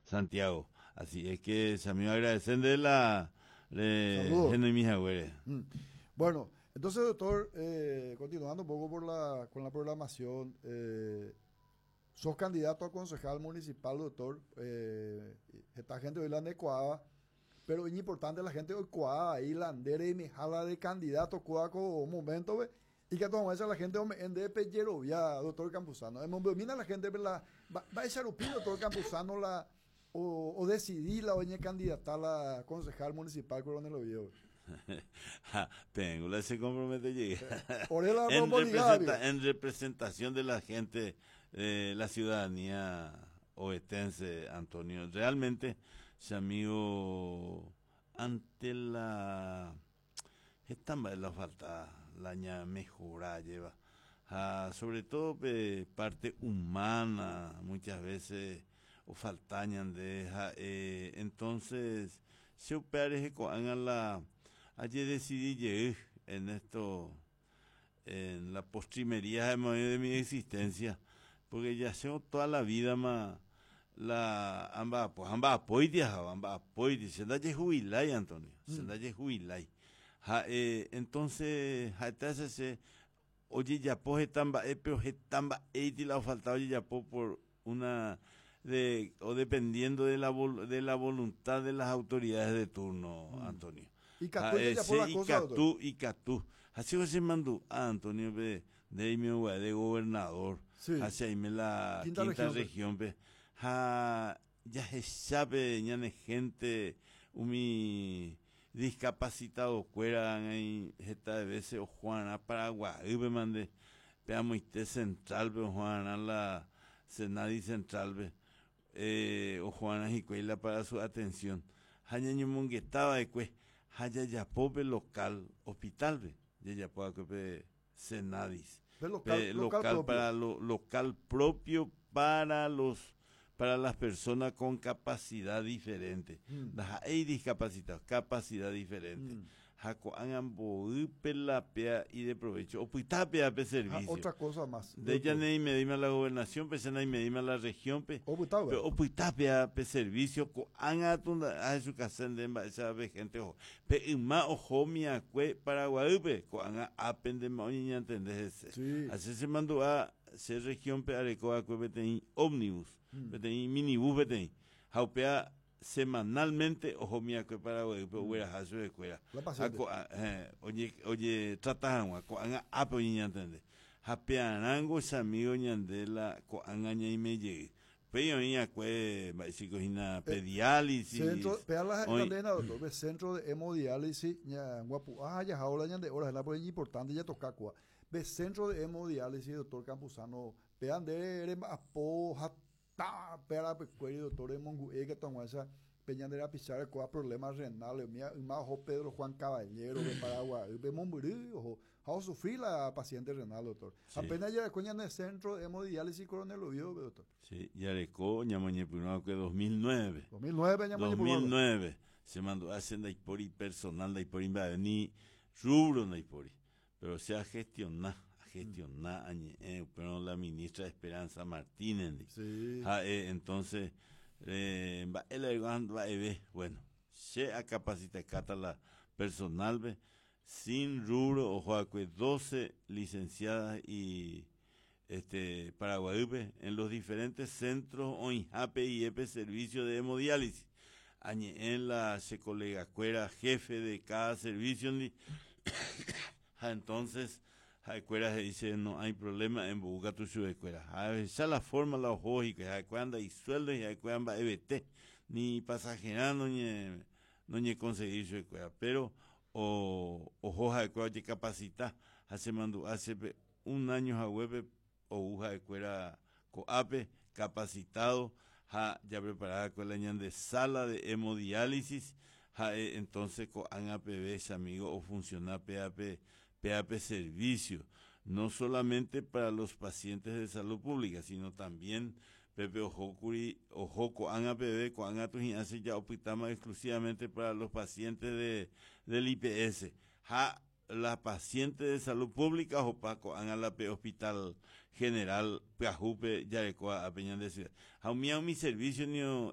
Santiago. Así es que, chamigo, agradecer de la Saludos. Henoimihaguére. Bueno, entonces, doctor, continuando un poco con la programación, sos candidato a concejal municipal, doctor. Esta gente hoy la necoaba, pero es importante la gente hoy coaba ahí la andere y me jala de candidato coaco un momento, ve, y que toma esa la gente en de Pellerovia, doctor Campuzano. En mira la gente la va a echar un pino, doctor Campuzano, la o decidí la oñe candidata a la concejal municipal Coronel Oviedo. Tengo la se compromete llegué. Orela En representación de la gente, la ciudadanía ovetense, Antonio. Realmente, ese amigo, ante la esta la falta la ña mejora lleva. Ah, sobre todo parte humana, muchas veces o faltañan de entonces se opere con la ayer decidí llegar en esto, en la postrimería de mi existencia, porque ya sé toda la vida más la amba pues amba apoidia amba apoidia se da jubilai, Antonio, se da jubilai. Ja, entonces ja se oye ya pues tamba pero tamba la faltaba oye ya por una de o dependiendo de la voluntad de las autoridades de turno, Antonio. Y catú y catú y catú. Así se mandó a Antonio de mi de gobernador hacia ahí la quinta región, pe ja ya se sabe ñane gente umi discapacitado cuera ahí esta veces o Juana Paraguay pe mande pe amoite central pe Juana la Senadi central pe o Juana Jicuela para su atención hañañomongetaba después hayayapope local hospital pe yayapo pe Senadis local, local, para lo local propio para las personas con capacidad diferente. Hay discapacitados, capacidad diferente. La y de provecho. O pe servicio. Ah, otra cosa más. De ella ni me dime la gobernación, pe ni me dime la región, pe. O pe servicio ko'ág̃a tunda su casa de esa gente ojo. Pe yma oho miakue Paraguaýpe ko'ág̃a ápente oñeñantende ese. Así se mandó a se región pe areko akue peteĩ ómnibus, peteĩ minibús peteĩ. Ha upéa semanalmente oho miakue Paraguaýpe ogueraha chupekuéra. Oye oye trata hag̃ua ko'ág̃a ápe oñeñantende. Ha pearãngo chamigo ñande la ko'ág̃a ñaime jey. Upéi oĩ akue mba'éichiko hína pe diálisis. Centro, pea la cadena, doctor, pe centro de hemodiálisis, ña guapu'a ya ahora ñande hora, la por importante ya toca kua. Pe centro de hemodiálisis, doctor Campuzano, pea ande apo hata pea pe cuello, doctor, mongu'e que tonguasa pe ñande rapichare kua problemas renales, mía yma oho Pedro Juan Caballero de Paraguay, pe mombyry ojo, ha sufrir la paciente renal, doctor. Apenas ya en el centro de hemodiálisis Coronel Oviedo, doctor. Sí, yareko ñamoñepyrũ 2009. 2009 2009 se mandó a hacer ndaipóri personal, ndaipóri mba'e ni rubro ndaipóri. Pero se ha gestionado, gestionado pero la ministra Esperanza Martínez. Sí. Ja, entonces, mba'e bueno, se a capacita la personal be, sin rubro, ojo, 12 licenciadas y Paraguaýpe en los diferentes centros oĩhápe IEP servicio de hemodiálisis. Añe'ẽ la che colega kuéra jefe de cada servicio ndi ha entonces ha'ekuéra he'i che no hay problema embou katu chupekuéra. Ha ahecha la forma la oho hikuái ha'ekuéra ndaisueldo ha'ekuéra mba'evete ni pasajerã noñe noñeconseguir chupekuéra, pero o oho ha'ekuéra ojecapacita ha chemandu'a chépe un año haguépe ou ha'ekuéra ko'ápe capacitado ha ya preparada la ñande sala de hemodiálisis ha'e entonces ko'ág̃a peve che amigo ofunciona péape péape servicio no solamente para los pacientes de salud pública, sino también pepe oho kuri oho ko'ág̃a peve ko'ág̃a tuhi'ãse ya opytáma exclusivamente para los pacientes del IPS ha la paciente de salud pública ohopa ko'ág̃a la pe hospital general pyahúpe jarekóva ápe ñande ciudad ha umi umi servicio nio.